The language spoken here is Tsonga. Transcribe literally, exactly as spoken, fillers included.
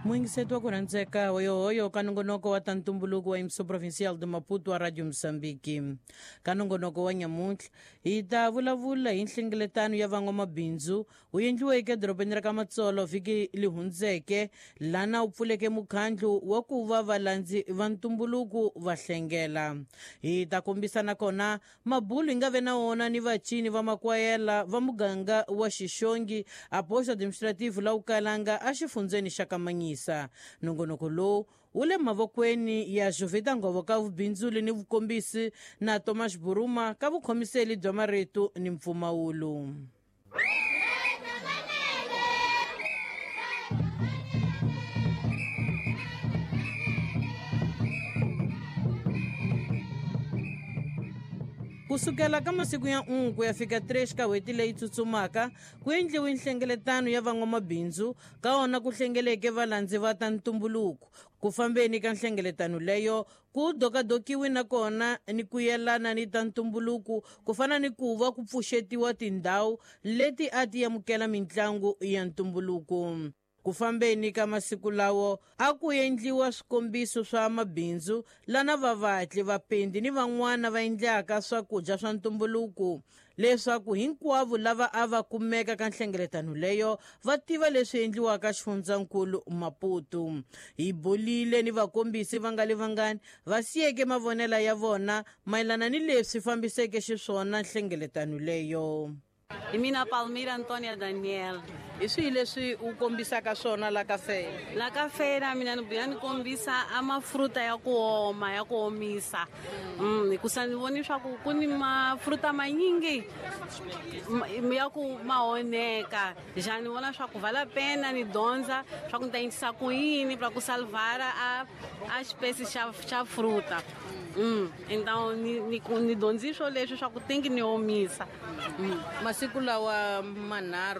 Muyingiseti wa ku rhandzeka hoyohoyo ka nongonoko wa ta ntumbuluko wa Emissão Provincial de Maputo wa Radio Moçambique. Ka nongonoko wa nyamuntlha hi ta vulavula hi nhlengeletano ya van'wamabindzu wu endliweke edorobeni ra ka Matsolo vhiki li hundzeke, lana wu pfuleke mukhandlu wa ku va valandzi va ntumbuluko va hlengela. Hi ta kombisa nakona mabulu hi nga ve na wona ni vacini va makwayela va muganga wa Xixongi a posto administrativo la Ukalanga exifundzeni xa Kamanyisa. Nongonoko lowu wu le mavokweni ya Jovita Ngovo ka vubindzuli ni vukombisi na Thomas Buruma ka vukhomiseli bya marito ni mpfumawulo. Kusukela ka masiku ya n'we ku ya fika três ka n'hweti leyi tsutsumaka ku endliwe nhlengeletano ya van'wamabindzu ka wona ku hlengeleke valandzi va ta ntumbuluko. Ku fambeni ka nhlengeletano leyo ku dokadokiwe nakona ni ku yelana ni ta ntumbuluko ku fana ni ku va ku pfuxetiwa tindhawu leti a ti amukela mitlangu ya ntumbuluko. Ku fambeni ka masiku lawo a ku endliwa swikombiso swa mabindzu lana vavatli, vapendi ni van'wana va endlaka swakudya swa ntumbuluko leswaku hinkwavo lava a va kumeka ka nhlengeletano leyo va tiva leswi endliwaka xifundzankulu Maputo. Hi bolile ni vakombisi va nga le vangani va siyeke mavonelo ya vona mayelana ni leswi fambiseke xiswona nhlengeletano leyo. Hi mina Palmira Antonia Daniel. Hi swihi leswi u kombisaka swona la ka feira? La ka feira mina ni vuya ni kombisa a mafruta ya ku oma, ya ku omisa. Mm, hikusa ni voni swa ku ku ni mafruta manyingi ya ku ma onheka. Já ni vona swa ku vale a pena ni dyondza swa ku ni ta endlisa ku yini pra ku salvara a a espécie xa xa fruta. Mm, então ni ni ni dyondziswo leswi swa ku tingi ni omisa. Mm. Masiku lawa manharhu